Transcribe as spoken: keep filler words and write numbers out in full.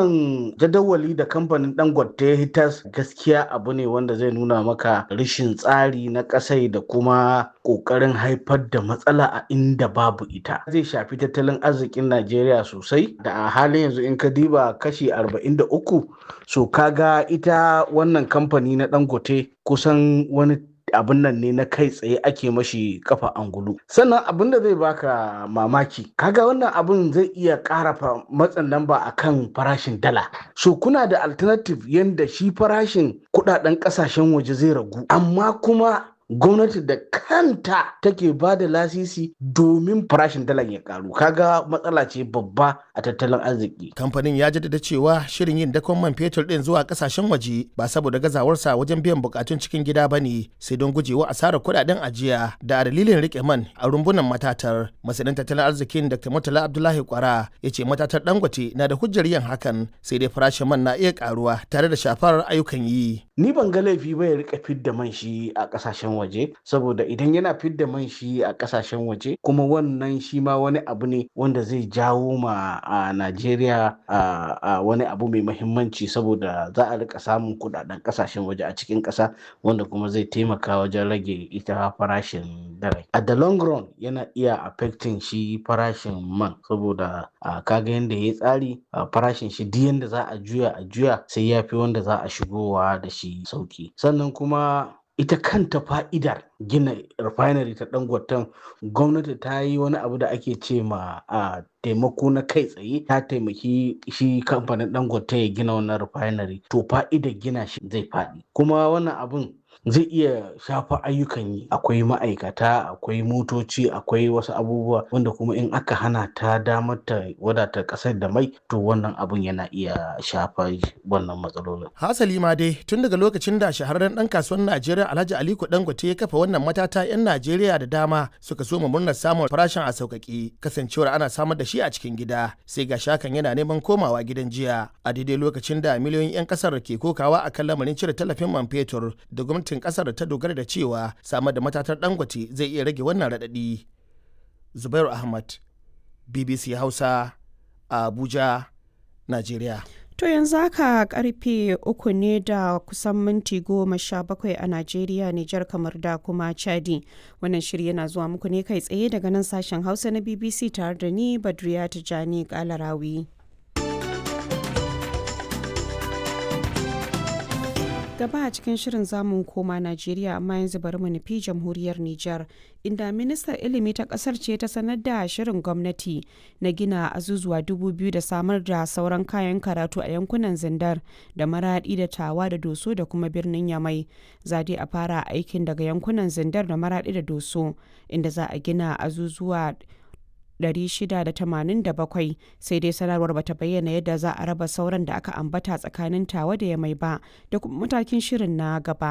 Wannan jadawali da kamfanin Dangote ya hitas gaskiya abu ne wanda zai nuna maka rashin tsari na ƙasai da kuma ƙoƙarin haifar da matsala a inda babu ita. Zai shafi tattalin arzikin Najeriya sosai da a halin yanzu in ka diba kashi arba'in da uku, so kaga ita wannan kamfani na Dangote kusan wani abin nan ne na kai tsaye ake mashi kafa angulu. Sannan abin da zai baka mamaki, kaga wannan abin zai iya ƙara matsin lamba akan farashin dala. So kuna da alternative yanda shi farashin kudaden kasashen waje zai ragu, amma kuma gwamnati da kanta take ba da lasisi domin farashin dalar ya karu. Kaga matsala ce babba a tattalin arziki. Kamfanin ya jaddada cewa shirin yin dakon man fetur din zuwa kasashen waje ba saboda gazawarsa wajen biyan bukatun cikin gida ba ne, sai don gujewa asarar kudaden ajiya da a dalilin rike man a rumbunan matatar. Masanin tattalin arzikin Doctor Murtala Abdullahi Kwara ya ce matatar Dangote na da hujjar yin hakan, sai dai farashin man na iya karuwa tare da shafar ayyukan yi. Ni ban ga laifi ba ya rika fidda man shi a kasashen waje, saboda idan yana fidda man shi a kasashen waje kuma wannan shi ma wani abu ne wanda zai jawo ma a Najeriya a wani abu mai mahimmanci, saboda za a rika samun kudaden kasashen waje a cikin kasa, wanda kuma zai taimaka wajen rage ita farashin dala. A the long run yana iya affecting shi farashin man, saboda kaga yanda ya tsari farashin shi duk yanda za a juya a juya sai ya fi wanda za a shigowa da shi sauki. Sannan kuma ita kanta fa'idar gina refinery ta Dangoten, gwamnati ta yi wani abu da ake ce ma a taimako na kai tsaye, ta taimaki shi kamfanin Dangote ya gina wannan refinery, to fa'idar gina shi zai faɗi. Kuma wannan abun zai iya shafa ayyukan yi, akwai ma'aikata, akwai motoci, akwai wasu abubuwa wanda kuma in aka hana ta damar ta wadata kasar da mai, to wannan abun yana iya shafa wannan matsalolin. Hasali ma dai tun daga lokacin da shahararren dan kasuwar Najeriya Alhaji Aliko Dangote ya kafa wannan matata, 'yan Najeriya da dama suka so mu murnar samun farashin a sauƙaƙe, kasancewar ana samar da shi a cikin gida, sai ga shakan yana neman komawa gidan jiya a daidai lokacin da miliyoyin 'yan kasar ke kokawa akan lamarin cire tallafin man fetur da gwamnatin kasar ta dogara da cewa samar da matatar Dangote zai iya rage wannan raɗaɗi. Zubairu Ahmad, B B C Hausa, Abuja, Najeriya. To yanzu haka karfe uku ne da kusan minti goma sha bakwai a Najeriya, Nijar, kamar da kuma Chadi. Wannan shiri yana zuwa muku ne kai tsaye daga nan sashen Hausa na B B C tare da ni Badriya Tijani Kalarawi. Gaba a cikin shirin zamu koma Najeriya, amma yanzu bari mu nufi jamhuriyar Nijar, inda ministan ilimi ta kasar ce ta sanar da shirin gwamnati na gina azuzuwa dubu biyu da samar da sauran kayan karatu a yankunan Zindar da Maradi da Tawa da Doso da kuma birnin Yamai. Za dai a fara aikin daga yankunan Zindar da Maradi da Doso, inda za a gina azuzuwa ɗari shida da tamanin da bakwai. Sai dai sanarwar bata bayyana yadda za a raba sauran da aka ambata tsakanin Tawa da Yamai ba da kuma matakin shirin na gaba.